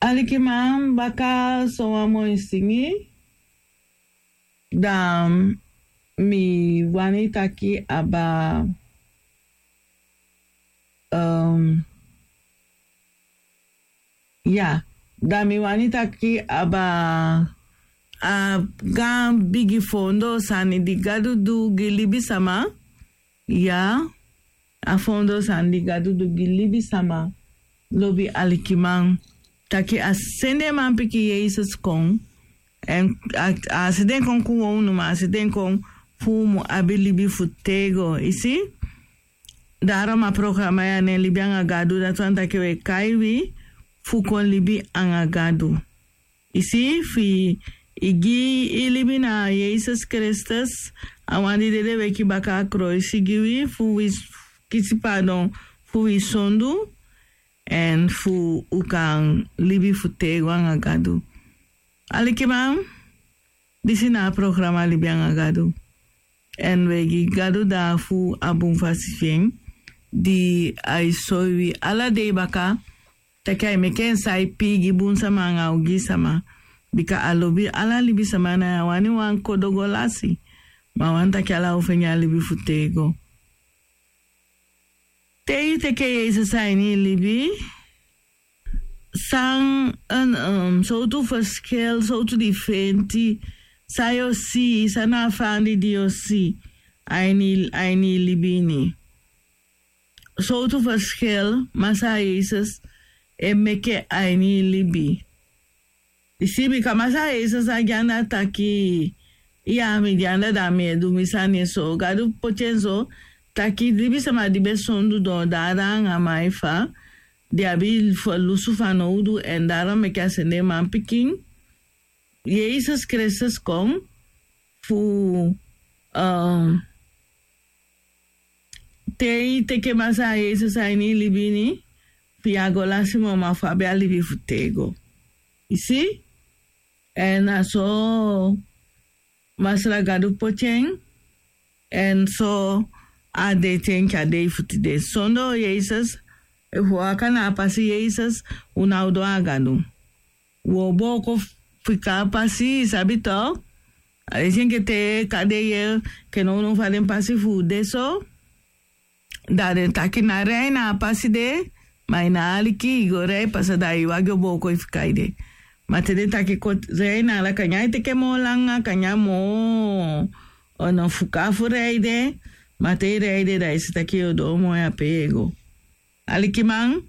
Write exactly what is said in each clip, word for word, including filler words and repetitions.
Alikiman, baka sowan moi singi, dan mi wani taki aba, um, ya, dan mi wani taki aba a gan bigi fondo sani di Gadu du gi libisama. Ya, a fondo sani di Gadu du gi libisama. Lobi alikiman, taki a sende manpikin Yesus kon. Èn a, a sende kon kon wownu, ma a sende kon fu un mu abi libi fu tego, isi. Daarom a programa ya nen Libi anga Gadu, dati wani taki we kai wi fu kon libi anga Gadu. Isi, fi i gi i libi na Yesus Kristus, a wan di dede weki baka a kroisi gi wi, fu wi s-, kisi padon fu wi sondu, èn fu u kan libi fu tego anga Gadu. Alikiman, disi na a programa Libi anga Gadu. Èn we gi Gadu dati fu a bun fasi fi en, di ai soi wi ala dei baka, taki ai meki en sai pii gi bun sama anga ogii sama. Bika a lobi ala libisama, na a wani wan kodo go lasi. Ma a wani taki ala un fende a libi fu tego. Te i teke Yesus a ini i libi, san, en, um, sowtu ferskel, sowtu difenti san yu o si, san na a fandi di yu o si a ini, a ini i libi ini? Sowtu ferskel Masra Yesus e meke a ini i libi? I si, bika Masra Yesus a gi anda taki, iya, mi gi anda, dan mi e du mi sani. So Gadu poti en so taki libisama di be sondu, doo dada anga maifa, di abi ferlusu fanowdu, èn daarom meke a sende manpikin Yesus Kristus kon fu, um, te i teke Masra Yesus a ini i libi ini, fi yu á go lasi moo, ma fu abi a libi fu tego. I si? Èn na so Masra Gadu poti en, èn so a de te enke a dei fu tide. Sondoo Yesus, efu un waka na a pasi Yesus, un ná o doo a Gadu. Un o booko fika a pasi, i sabi tok. A disi enke te kande yee, enke nownow fa den pasi fu u de so. Da den taki ná rei na a pasi de, ma i ná aliki, i go rei pasa, da i wagi o booko, i fika ede. Ma te den taki kon rei na ala, kanya e teke moo langa, kanya moo, o no fuka fu rei de, ma te i rei de, da i si taki yu o doo moo ya pe yu e go. Alikiman,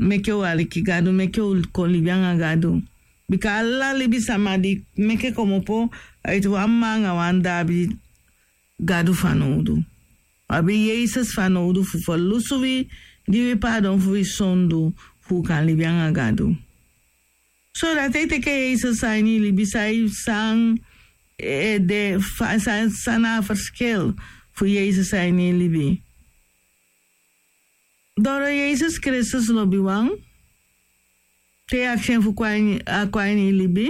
meke u aliki Gadu, meke u kon libi anga Gadu. Bika ala libisama di meke komopo a iti wan mma anga wan dda abi Gadu fanowdu. Abi Yesus fanowdu fu ferlusu wi, gi wi padon fu wi sondu, fu u kan libi anga Gadu. So dati e teke Yesus a ini i libi, san, san, e, de fa, san, san na a ferskel fu Yesus a ini i libi? Doro Yesus Kristus lobiwan, te yu akisi en fu kon a ini, a kon a ini i libi,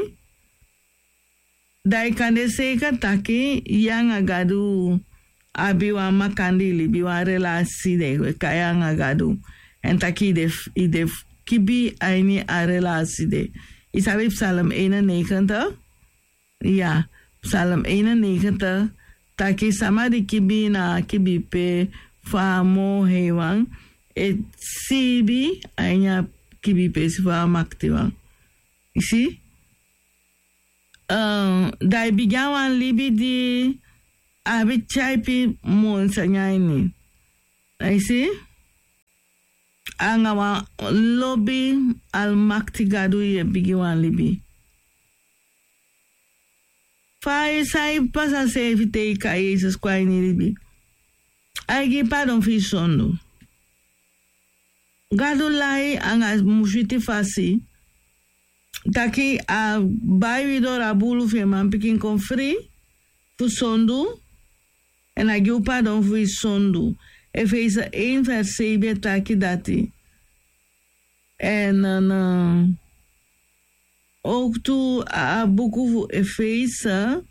da i kan de seika taki yu anga Gadu abi wan makandii libi, wan relasi de, we kai anga Gadu. Èn taki i de f-, i de f-, kibi a ini a relasi de. I sabi Psalm eenennegentig? Ya, Psalm eenennegentig taki sama di kibi na a kibi pe fu a moo heiwan e siibi a ini a kibi pe fu a maktiwan. I si? Eh, da i bigin a wan libi di abi tyaipi moi sani a ini. I si? Anga wan lobi Almakti Gadu yu e bigin wan libi. Fa i, san i pasa seefi te i kai Yesus kon a ini i libi? Ai gi i padon fu i sondu. Gadu lai anga switi fasi taki a bai wi doro a buulu fu en manpikin kon fri fu sondu, èn a gi u padon fu wi sondu. Efese één vers zeven e taki dati. Èn, eh, owktu a, a buku fu Efese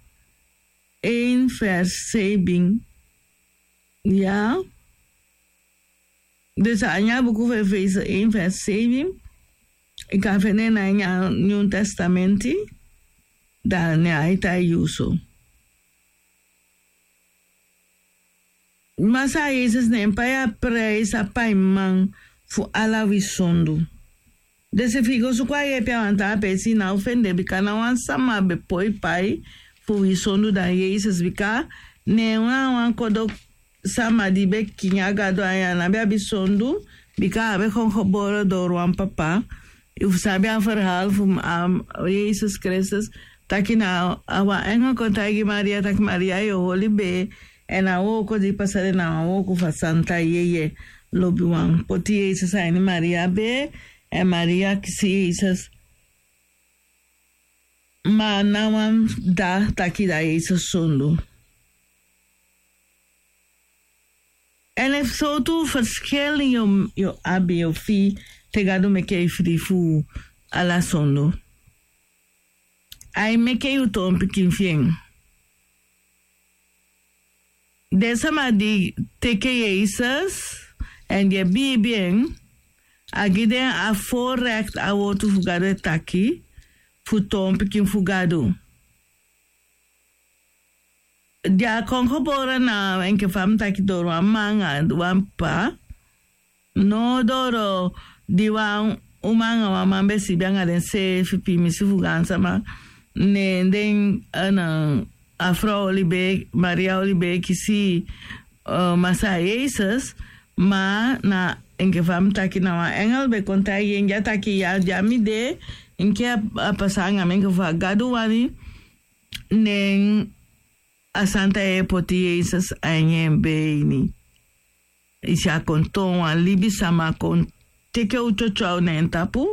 één vers zeven. Ya. Dus a ini a buku fu Efese één vers zeven, I kan fende na ini a Nyun Testamenti, dan ne a e taigi yu so. Masa Yesus ne en pai a prijs, a paiman fu ala wi sondu. Disi fu i go suku a yepi a wan taa peesi i ná o fende, bika ná wan sama be poi pai fu wi sondu dan Yesus, bika ne en na wan kodo sama di be kingi a Gadu, a ná be abi sondu, bika a be kon gebore doro wan papa. Yu fu sabi a verhaal fu, um, Yesus Kristus, taki na a wan engel kon taigi Maria taki Maria yu o holi bee, èn a wooko di pasa de na wan wooko fu a santa yeye lobiwan. Poti Yesus a ini Maria bee, èn Maria kisi Yesus. Ma a ná wan dda taki da Yesus sondu. Èn efu sowtu verschil yu, yu abi, yu fii te Gadu meke yu fri fu ala sondu. A e meke yu toon pikin fi en. Den sama di teke Yesus èn di e biibi en, a gi den a voorrecht, a wortu fu Gadu e taki, fu toon pikin fu Gadu. Di a kon gebore na enke fa mi taki doro wan mma anga wan ppa. No doro di wan uma anga wan man be sibi anga denseefi, piimisi fu gaansama. Ne den, eh, na a frow oli bee, Maria oli bee kisi, eh, Masa Yesus. Ma na enke fa mi taki na wan engel be kon taigi en, di a taki ya, di a mi de, enke a, a pasa anga mi enke fa Gadu wani. Ne en a santa yeye poti Yesus a ini en bee ini. I si a kon toon wan libisama, kon teke u tyotyo na en tapu,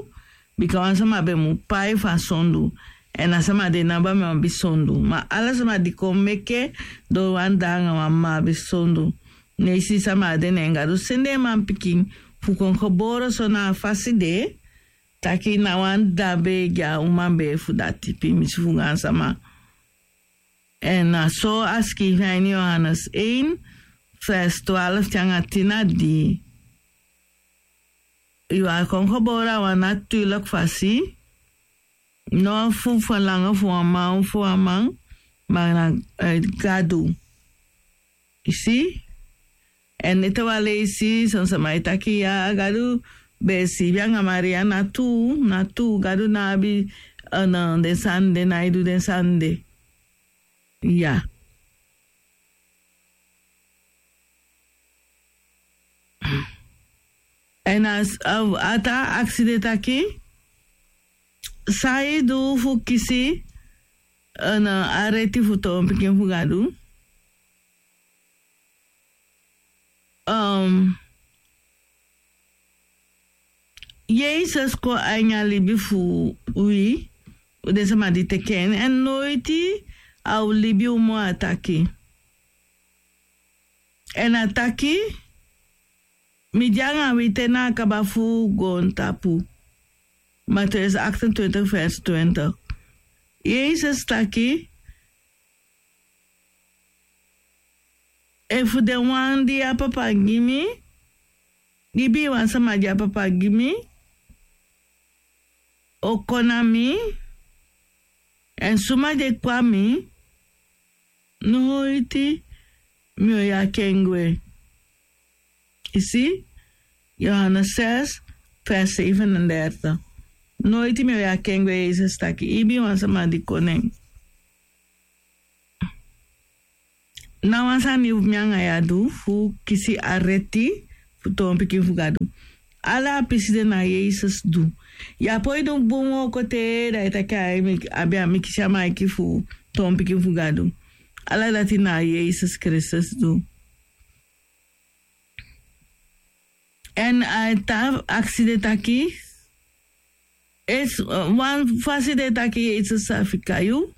bika wan sama be mu pai fu a sondu. Èn a sama de ná be abi sondu. Ma ala sama di kon meke doro wan dda anga wan mma abi sondu. Ne i si sama de, ne Gadu sende en manpikin fu kon gebore so na a fasi de, taki ná wan dda be gi a uma bee fu dati, piimisi fu gaansama. Èn na so a sikiifi a ini Yohanes één, vers twaalf te anga tin na dii. Yu a kon gebore a wan natuurlijk fasi, no fu verlangen fu wan man, fu wan man, ma na, eh, Gadu. I si? Èn ete wan leisi, son sama e taki ya, Gadu be siibi anga Maria, na tuu, na tuu, Gadu ná abi, eh, na den sani de, ná e du den sani de. Ya. Èn a, a, a taa aksi de taki, san i du fu kisi, eh, na a reti fu toon pikin fu Gadu. Um, Yesus kon a ini a libi fu wi, fu den sama di teke en, èn noiti a o libi moo, a taki. Èn a taki, mi de anga wi te na a kaba fu goontapu. Matthäus achtentwintig, vers twintig. Yesus taki, efu den wan di a papa gi mi, ibii wan sama di a papa gi mi, o kon na mi, èn suma di e kon na mi, noiti mi o yaki en gwe. I si? Yohanes zes, vers zevenendertig. Noiti mi o yaki en gwe, Yesus taki, ibii wan sama di kon na en. Na wan sani mi anga yu a du fu kisi a reti fu toon pikin fu Gadu. Ala a pisi de na Yesus du. Yu á poi du bun wooko te da i taki a mi, abi a mi kisi a maiki fu toon pikin fu Gadu. Ala dati na Yesus Kristus du. Èn a taa aksi de taki, esi, eh, wan fasi de taki Yesus sa fika yu.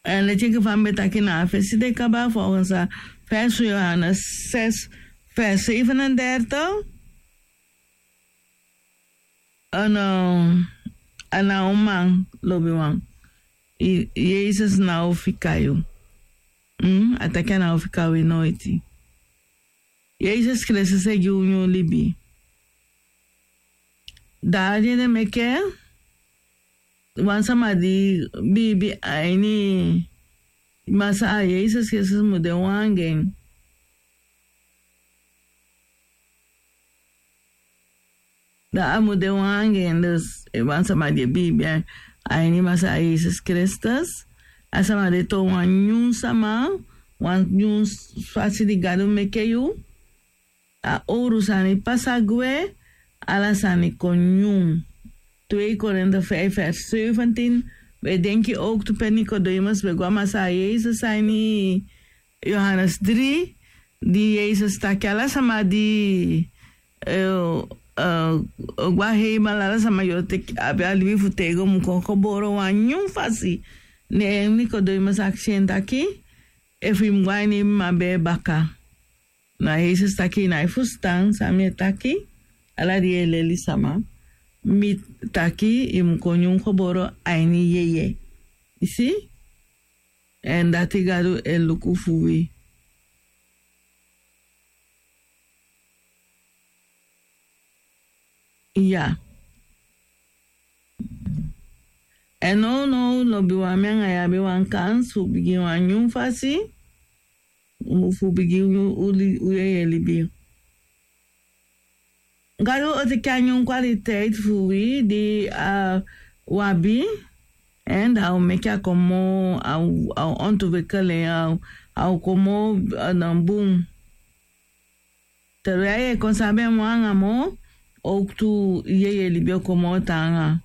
Èn leti enke fa mi be taki na a fesi de kaba, volgens a fesi Yohanes zes, vers zevenendertig. A no, a no man, lobiwan. I, Yesus no o fika yu. Mm, a taki a no o fika wi noiti. Yesus Kristus e gi unu libi. Da a de den meke wan sama di biibi a ini Masaa Yesus Kristus mu de wan anga en. Da a mu de wan anga en, dus wan sama di e biibi a ini Masaa Yesus Kristus. A sama de toon wan nyun sama, wan nyun fasi di Gadu meke yu. A owru sani pasa gwe, ala sani kon nyun. Twee Korinte vijf vers zeventien. We denki ook tu pe Nicodemus be go a Masaa Yesus a ini Johannes drie, di Yesus taki ala sama di eh, eh, o go a heimel, ala sama di o teki abi a libi fu tego mu kon gebore wan nyun fasi. Ne Nicodemus aksi en taki, efu i mu go a ini i mama bee baka. Na Yesus taki, i nái fusutan san mi e taki? Ala di yu e leli sama, mi taki i mu kon nyun gebore a ini yeye. I si? Èn dati Gadu e luku fu wi. Ya. Èn nownow lobiwan, mi anga yu abi wan kans fu bigin wan nyun fasi, fu bigin u, u, u yeye libi. Gadu o teki a nyun kwaliteit fu wi di a, u abi, èn da a o meki a kon moo, a o, a o ontwikkel en, a o, a o kon moo, eh, na bun. Terwijl yu e kon sabi en moo anga moo, ook tu yeye libi o kon moo taanga.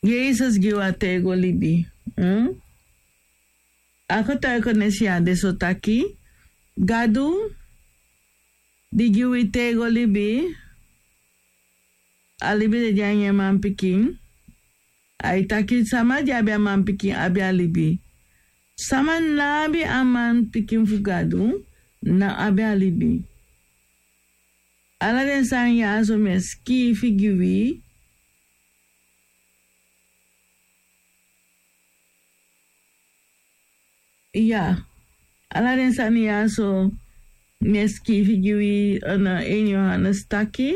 Yesus gi wi a tego libi. Hmm? A getuigenis ya de so taki, Gadu di gi wi tego libi, a libi de de a ini en manpikin. Ai taki sama di abi a manpikin abi a libi. Sama ná abi a manpikin fu Gadu, ná abi a libi. Ala den sani ya so mi e sikiifi gi wi. Ya, ala den sani ya so mi e sikiifi gi wi, eh, na ini Johannes taki.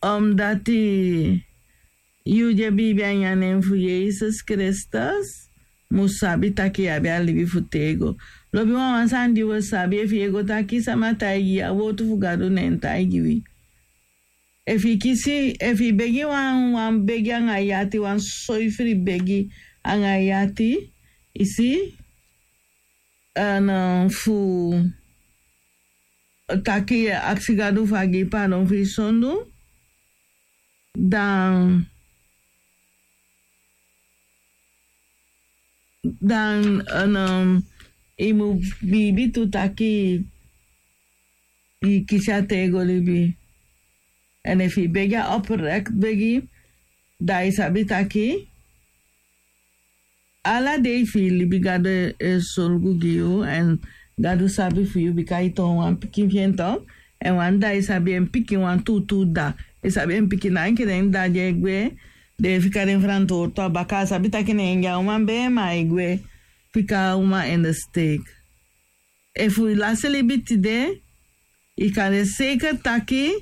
Omdati yu di e biibi a ini a nen fu Yesus Kristus mu sabi taki yu abi a libi fu tego. Lobiwan, wan sani di wi o sabi, efu yu e go taki sama taigi yu, a wowtu fu Gadu na en taigi wi. Efu i kisi, efu i begi wan, wan begi anga yu ati, wan soifri begi anga yu ati, i si, èn, eh, fu taki yu e aksi Gadu fu a gi i paadon fu i sondu, dan dan, en, um, i mu biibi tu taki i kisi a tego libi. Èn efu i begi a oprekt begi, dan i sabi taki ala dei fu i libi Gadu e, e sorgu gi yu, èn Gadu sabi fu yu, bika i toon wan pikin fi en, to. Èn wan dda e sabi en pikin, wan tuutuu dda e sabi en pikin. Na enke den dda di e gwe, den e fika den frantwortu a baka, a sabi taki na en gi a uman bee, ma ai gwe fika a uman in de steek. Efu i lasi libi tide, i kan de seiker taki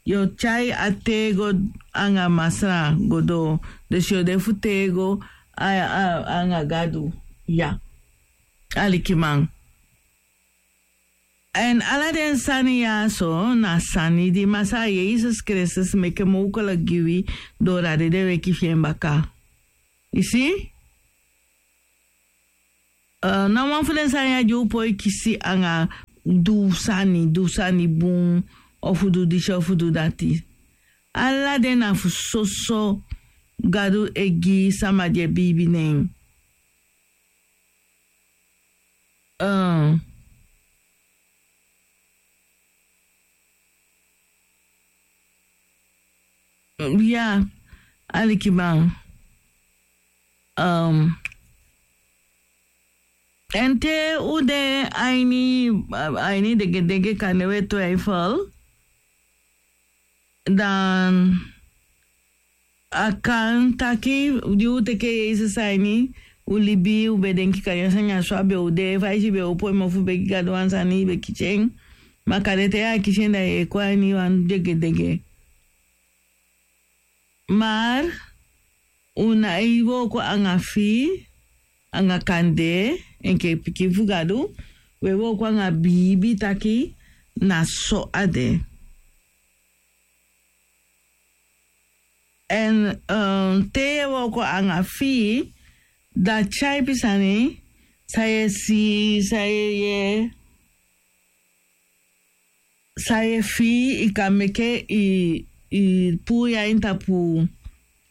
yu o tyai a tego anga Masra go doo. Dus yu o de fu tego a, a, anga Gadu. Ya. Alikiman. Èn ala den sani ya so na sani di Masaa Yesus Kristus meke mowkelijk gi wi, doo dati den weki fi en baka. I si? Eh, na wan fu den sani ya di u poi kisi anga du sani, du sani bun, ofu du disi, ofu du dati. Ala den na fu soso Gadu e gi sama di e biibi na en. Eh, ya, alikiman. Um, èn te u de a ini, a ini degedege, kande we twijfel, dan a kan taki di u teke Yesus a ini u libi, u be denki kande a sani ya so a be o de, fa i si i be opo i mofu begi Gadu wan sani, i be kisi en. Ma kande te yu akisi en da yu e kon a ini wan degedege. Mar un na e wooko anga fii anga kande enke pikin fu Gadu. Un e wooko anga biibi taki na so a de. Èn te yu e wooko anga fii, da tyaipi sani san yu e si, san yu e yee, san yu e fii, i kan meke i puu yu ain tapu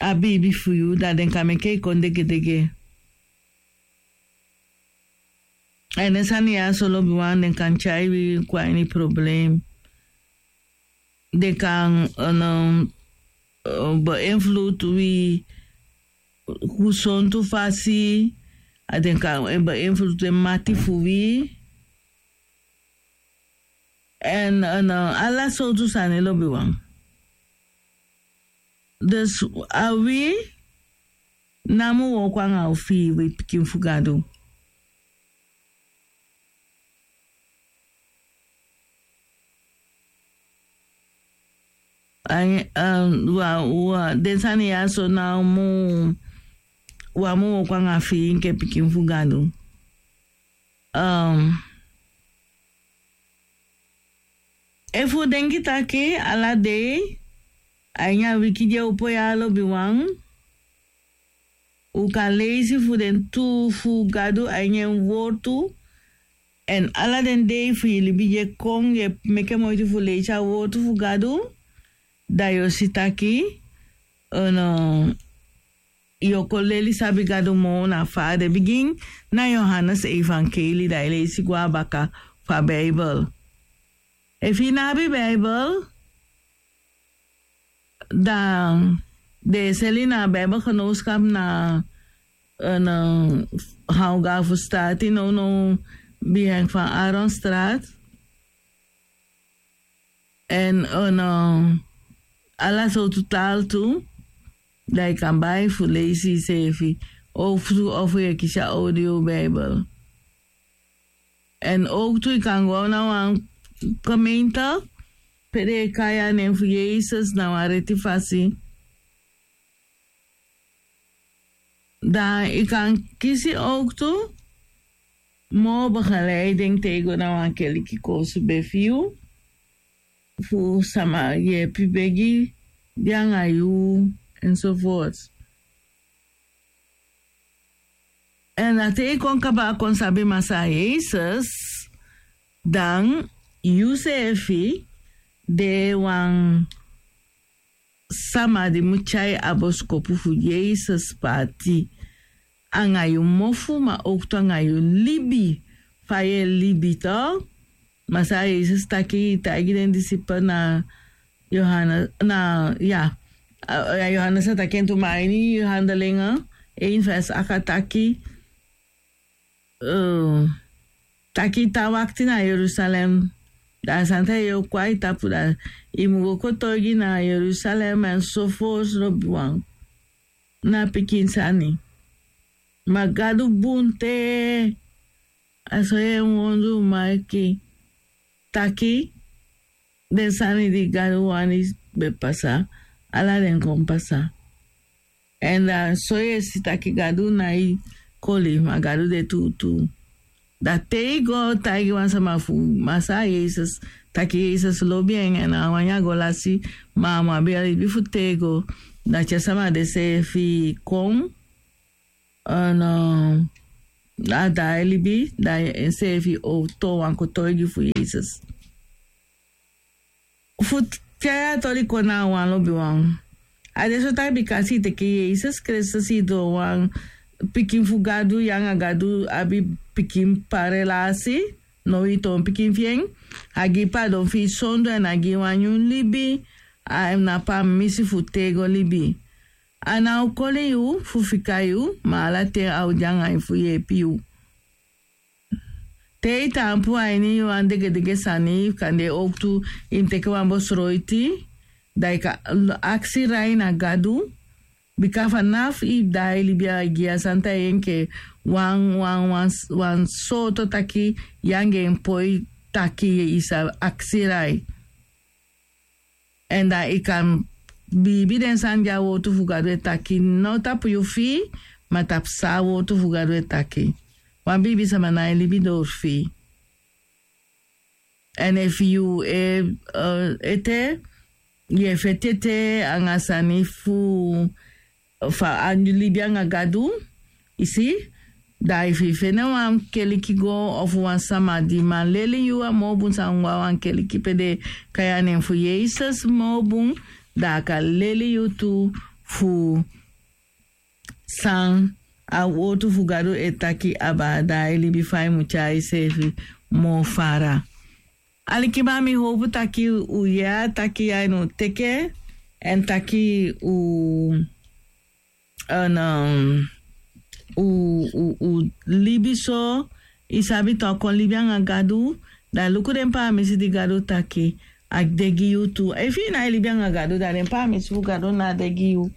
a biibi fu yu, da den kan meke i kon degedege. Èn den sani ya so lobiwan, den kan tyai wi kon a ini problem. Den kan beïnvloed wi gesontu fasi. A den kan beïnvloed den mati fu wi. Èn ala sowtu sani lobiwan. Dus a wi namo wooko anga wi fii, wi pikin fu Gadu. Den sani ya so na mu wan mu wooko anga fii enke pikin fu Gadu. Efu un denki taki ala dei a ini a wiki di e opo ya lobiwan, un kan leisi fu den tu fu Gadu a ini en wortu. Èn ala den dei fu yu libi di e kon yu e meke moiti fu leisi a wortu fu Gadu, da yu o si taki yu o kon leli sabi Gadu moo na fa a de. Bigin na Yohanes evangelie, da yu leisi go a baka fu a Bijbel. Efu yu no abi Bijbel, da den e seli na Bijbelgenootschap na Haugafu Stati nownow, bihen fan Aaronstraat. Èn ala sowtu taal tu, da yu kan bai fu leisi yuseefi, ofu tu ofu yu e kisi a audio Bijbel. Èn owktu yu kan go na wan gemeente pe den e kai a nen fu Yesus na wan reti fasi. Da yu kan kisi owktu moo begeleiding te yu go na wan keliki koosube fi yu, fu sama yeepi begi de anga yu, enzovoort. Èn a te yu kon kaba kon sabi Masaa Yesus, dan yuseefi de wan sama di mu tyai a bosikopu fu Yesus paati anga yu mofu, ma owktu anga yu libi, fa yu e libi tok. Masaa Yesus taki, taigi den disipel na Yohanes, na, ya, a Yohanes a taki en tu, ma a ini Handelingen één vers acht a taki, taki yu tan wakti na Jerusalem. Da a santa yeye o kon a yu tapu, da yu mu go kotoigi na Jerusalem, enzovoort lobiwan. Na pikin sani. Ma Gadu bun te, a so yu e wondru meki taki den sani di Gadu wani be pasa, ala den kon pasa. Èn da so yu e si taki Gadu nái koli, ma Gadu de tuutuu. Da te yu go taigi wan sama fu Masaa Yesus taki Yesus lobi en, èn a wani a go lasi, ma a mu abi a libi fu tego, da te a sama de seefi kon, a daai libi, da enseefi o toon wan kotoigi fu Yesus. Fu tyai a toli kon na a wan lobiwan. A de so taki bika si teke Yesus Kristus, i doo wan pikin fu Gadu, yu anga Gadu abi pikin parelasi, now i toon pikin fi en, a gi padon fi i sondu èn a gi wan nyun libi, a na pamisi fu tego libi. A ná o koli yu fu fika yu, ma ala ten a o de anga yu fu yeepi yu. Te i taampu a ini wan degedege sani, kande owktu i mu teke wan bosroiti, da i kan aksi rai na Gadu, bika fanafu i daai libi a gi a santa yeye enke wan, wan, wan, wan sooto taki yu anga en poi taki yu sa aksi rai. Èn dan yu kan biibi den sani di a wortu fu gadu e taki no tapu yu fii, ma tapu san a wortu fu gadu e taki. Wan biibi sama na e libi dori fii. Èn efu yu e ete yu e feti ete anga sani fu fa a libi anga gadu, yu si, da efu yu fende wan keliki go ofu wan sama di man leli yu a moo bun san go a wan keliki pe den e kai a nen fu yesus moo bun, da a kan leli yu tu fu san a wortu fu gadu e taki aba, da a e libi fa yu mu tyai yuseefi moo fara. Alikiman, mi howpu taki u yee a taki ya en u teke èn taki u u u libi so. Yu sabi tu a kon libi anga gadu, da luku den paamisi di gadu taki a de gi yu tu. Efu yu nái libi anga gadu, da den paamisi fu gadu ná de gi yu.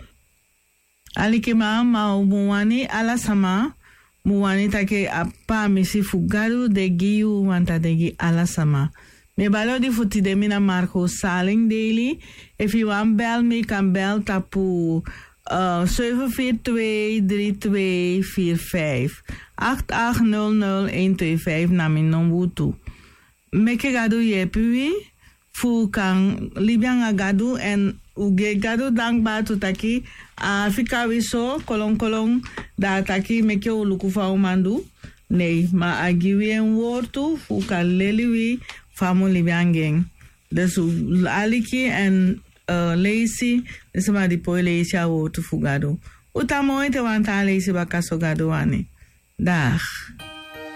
Alikiman, ma u mu wani ala sama, mu wani taki a paamisi fu gadu de gi yu wanta de gi ala sama. Mi e bali odi fu tide, mi na marco saling daily. Efu yu wani bel mi kan bel tapu seuven vier twee drie twee vier vijf. Acht acht nul nul een twee vijf na mi nombu tu. Meke gadu yeepi wi fu kan libi anga gadu èn u gi gadu dankbar tu taki a fika wi so kolonkolon, da a taki meke u luku fa u man du. Nei, ma a gi wi en wortu fu kan leli wi fa a mu libi anga en. Dus u aliki èn leisi den sama di poi leisi a wortu fu gadu. U tan moi te wan tan leisi baka so gadu wani. Dag.